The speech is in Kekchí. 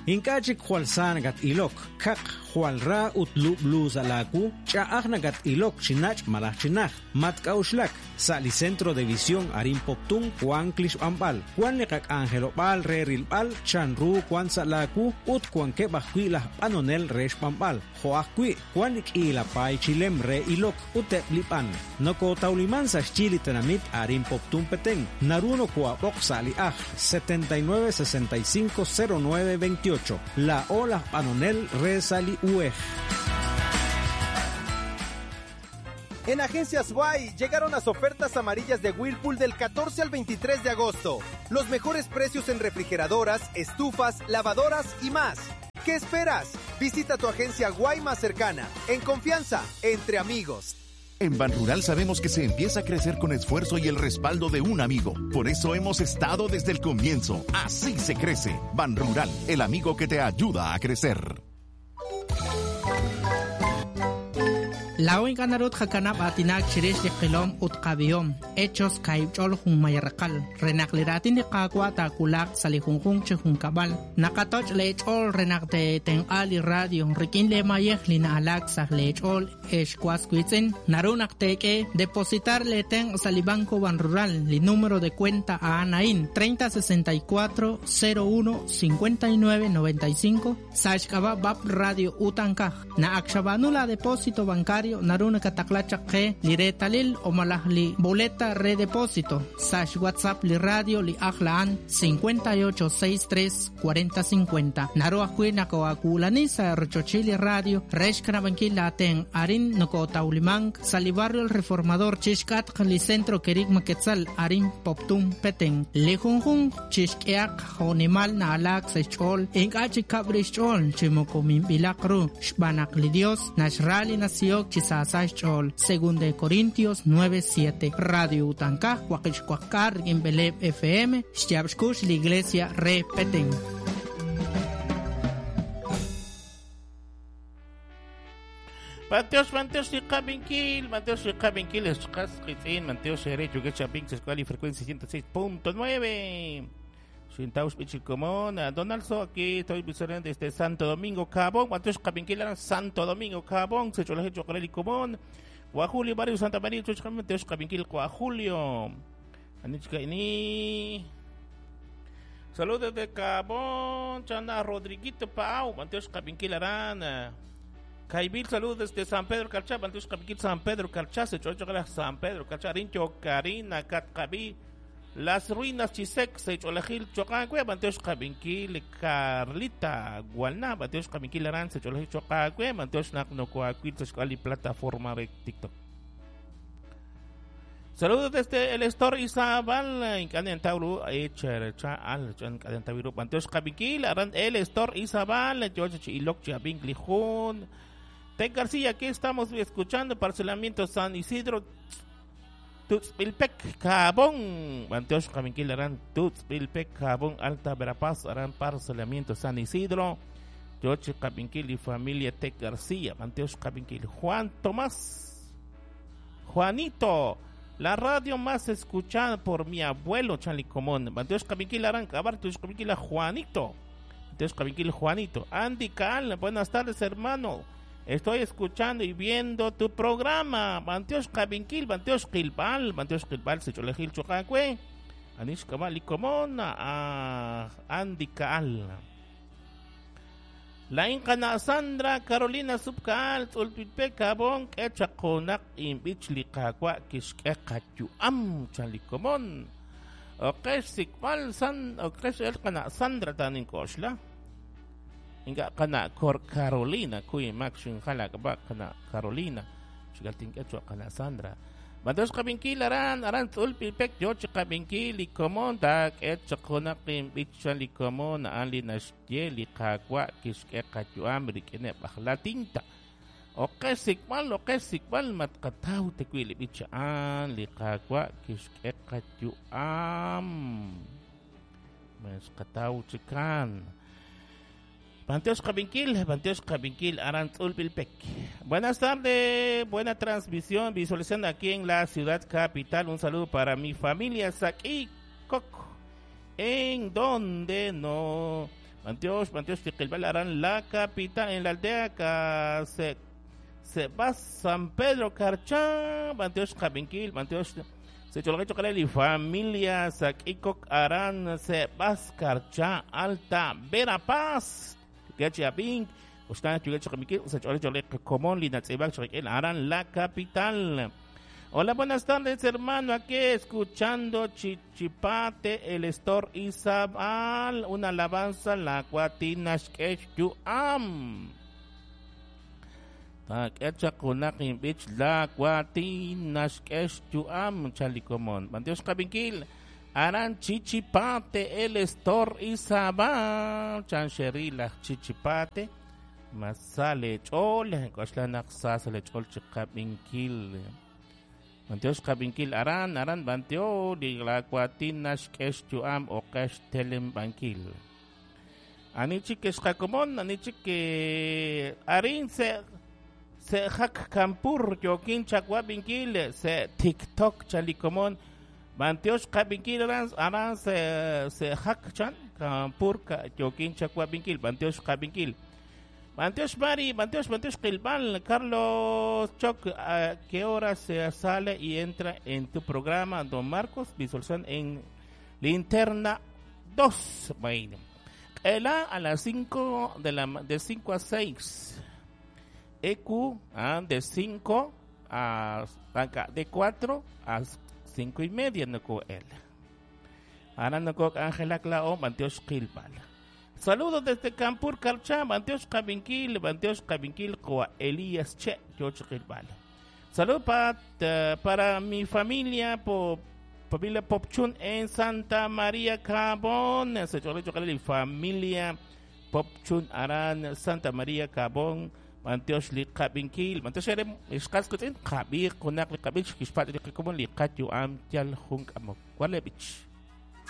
Ink'a' chik jwal sa nakat-ilok, kaq, jwal ra ut lub'lu sa' laawu, ch'a'aj nakat-ilok chi nach' malaj chi najt. Matk'a'uxlak, sa' li Centro de Visión arin Poptún wank li xb'anb'al, wank li qak'anjelob'aal re rilb'al chanru wank sa' laawu ut wankeb' ajwi' laj b'anonel re xb'anb'al, jo' ajwi' wank li k'iila paay chi lem re ilok ut eb' li b'an. Nokootawliman sa' xyi li tenamit arin Poptún Petén, naru nokoo'ab'oq sa' li ajl 79 65 09 28. Laa'o laj b'anonel re sa' li uhej. En Agencias Y llegaron las ofertas amarillas de Whirlpool del 14 al 23 de agosto. Los mejores precios en refrigeradoras, estufas, lavadoras y más. ¿Qué esperas? Visita tu agencia Guay más cercana, en confianza, entre amigos. En Banrural sabemos que se empieza a crecer con esfuerzo y el respaldo de un amigo. Por eso hemos estado desde el comienzo. Así se crece. Banrural, el amigo que te ayuda a crecer. Laa'o ink'a' naru tqakanab' aatinak chirix li qilom ut qab'ihom, Hechos kaahib' ch'ol junmay raqal, re naq li raatin li Qaawa' taawulaq sa' li junjunq chi junkab'al. Naqatoch' lee ch'ool re naq teetenq'a li radio rik'in lee mayej li na'alaak sa' lee ch'ool, ex was wiitz'in. Naru naq teek'e depositar lee tenq' sa' li Banco Banrural, li número de cuenta a'an a'in, 30 64 01 59 95, sa' xk'ab'a' Bab Radio Utankaj. Na ak xab'aanu la depósito bancario naru nakataqla chaq qe li reetalil o malaj li boleta re depósito sa' xWhatsApp li radio li ajl a'an 58 63 40 50. Naru ajwi' nakoo'aawulani sa' rochochil li radio re xkanab'ankil laatenq' arin nokootawlimank sa' li barrio El Reformador chixk'atq li Centro Kerigma Quetzal arin Poptún Petén. Li junjunq chixk'ehaq jo'nimal na'alaak sa' xch'ool, ink'a' chi kab' rix xch'ool chi moko minb'ilaq ru, xb'aan naq li Dios naxra li nasihok chi saasa xch'ool. Segunda de Corintios 9:7. Radio Utankaj, waqib' xwaqk'aal rik'in b'eleeb' FM, xyaab' xkux li Iglesia re Petén. B'antiox, b'antiox li qab'inkil, b'antiox li qab'inkil ex qas qiitz'in, b'antiox eere yookeb' chi ab'ink sa' xk'ab'a' li frecuencia 106.9. Xintaw xb'ich li komon, Donaldson aquí estoy visualizando desde Santo Domingo Cabón, b'antiox qab'inkil aran Santo Domingo Cabón, se ch'olajil cho'q re li komon. Wa Julio Barrio Santa María, choch b'antiox qab'inkil wa Julio. Ani chik a'ini. Saludos desde Cabón, Chana Rodriguito Pau, b'antiox qab'inkil aran. Kaybil, saludos desde San Pedro Carchá, b'antiox qab'inkil San Pedro Carchá, se ch'olch'oq laj San Pedro Carchá, arin Yokarina, Katqab'i, Las Ruinas Chisek, se ch'olajil choqaawe, b'antiox qab'inkil Carlita Gualná, b'antiox qab'inkil aran, se ch'olajil choqaawe, b'antiox naq nokoaawil sa' xk'ab'a' li plataforma re TikTok. Saludos desde el Store Izabal, ink'a' nintaw ru echercha al chan ink'a' nintaw ru b'antiox qab'inkil aran el Store Izabal yo chi ilok chi ab'ink li jun Ted García, aquí estamos escuchando parcelamiento San Isidro Tutzpilpec Cabón b'antiox qab'inkil aran Tutzpilpec Cabón Alta Verapaz aran parcelamiento San Isidro yo chi qab'inkil li familia Ted García b'antiox qab'inkil Juan Tomás Juanito, la radio más escuchada por mi abuelo, chan li komon. B'antiox qab'inkil aran K'ab'ar, tiox qab'inkil a Juanito. B'antiox qab'inkil Juanito. Andy Kaal, buenas tardes, hermano. Estoy escuchando y viendo tu programa. B'antiox qab'inkil, b'antiox qilb'al, b'antiox qilb'al, se ch'olejil choqaawe. Anix k'ab'a' li komon, a Andy Kaal. Laa'in qana' Sandra Carolina Subkaal Tz'ulpilpe Kabon k'e chaq junaq inb'ich li Qaawa' kixk'e qayu'am chan li komon. Oqex xsik'b'al san oqex el qana' Sandra ta nink'oxla. Ink'a' qana' Cor Carolina kuy mak xinjal ak'ab'a' qana' Carolina. Xigal tink'e cho'q qana' Sandra. B'antiox qab'inkil aran, aran Tz'ulpilpek yo chi qab'inkil li komon taak'e chaq junaq inb'ich chan li komon a'an li naxye li Qaawa' kixk'e qayu'am rik'ineb' aj latinta. Oqe xsik'b'al, oqe xsik'b'al, ma tqataw ta wi' li b'ich a'an li Qaawa' kixk'e qayu'am. Ma xqataw chikan. B'antiox qab'inkil, b'antiox qab'inkil aran Tz'ulpilpek. Buenas tardes, buena transmisión, visualizando aquí en la ciudad capital. Un saludo para mi familia Saki Coco. En donde no. Bantiox, Bantiox li aran la capital en la aldea se Sebas San Pedro Carchá, Bantiox Kabinkil, Bantiox se chocale familia Sakikok Aran Sebas Carchá Alta Verapaz, Gachiabink, Aran la capital. Hola, buenas tardes, hermano. Aquí escuchando Chichipate, el Estor Izabal, una alabanza, la Cuatinashkesh Yuam. Takecha kunakin bich la Cuatinashkesh Yuam, Chalikomon. Bandios Kabinkil, Aran Chichipate, el Estor Izabal, Chancherila Chichipate, Masale Chol, Koshlanak Sasale Chol Chikabinkil. Bantios kabinkil aran aran bantio di la nash kesh chuam o kesh telem bankil. Ani chik komon ani chik arin se se hak kampur yokin chakwa binkil se TikTok chalikomon bantios kabinkil aran aran se se hak chan kampur ka yokin chakwa binkil bantios kabinkil. Banteos Mari, Banteos, Banteos Quilbal, Carlos Choc, ¿a qué hora se sale y entra en tu programa, don Marcos? Visualización en Linterna 2. Bueno, Ela a las 5 de la de 5 a 6. EQ de 5 a de 4 a 5 y media no él. Ahora no Ángela Clao, Banteos Quilbal. Saludos desde Campur Carchá, Banteos Cabinkil, Banteos Cabinkil, Coa Elías Che, Yochquilbal. Saludos para mi familia, familia Popchun en Santa María Cabón. Familia Popchun Aran, Santa María Cabón, Banteos Li Cabinkil, Banteos Erem, Ishkaskutin, Kabir, Kunak, Li Kabich, Kishpat, Li Kakumon, Li Katyu, Am, Tial, Hunk, Amok, Walebich.